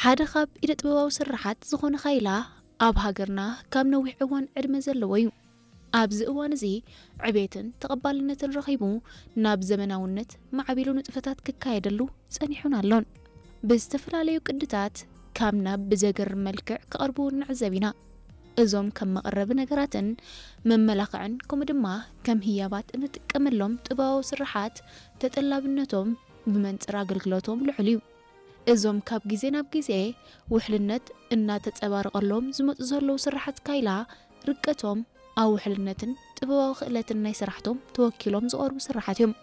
ሓደ ካብ ኢደ ጥበባዊ ስርሓት ዝኾነ ካይላ ኣብ ሃገርና ካብ ነዊሕ እዋን ዕድመ ዘለዎ እዩ። ኣብዚ እዋን እዚ ዕቤትን ተቐባልነትን ረኺቡ ናብ ዘመናውነት ማዕቢሉ ንጥፈታት ክካየደሉ ጸኒሑን ኣሎን። ብዝተፈላለዩ ቅድታት ካብ ናብ ብዘገርም መልክዕ ክቐርቡ ንዕዘብ ኢና። እዞም ከም መቐረቢ ነገራትን መመላኽዕን ከምኡ ድማ ከም ህያባት እንጥቀመሎም ጥበባዊ ስርሓት ተጠላብነቶም ብመንጽር ኣገልግሎቶም ልዑል እዩ። እዞም ካብ ግዜ ናብ ግዜ ውሕልነት እናተጸባረቐሎም ዝመጹ ዘለዉ ስርሓት ካይላ ርቀቶም ኣብ ውሕልነትን ጥበባዊ ክእለትን ናይ ስራሕቶም ተወኪሎም ዝቐርቡ ስርሓት እዮም።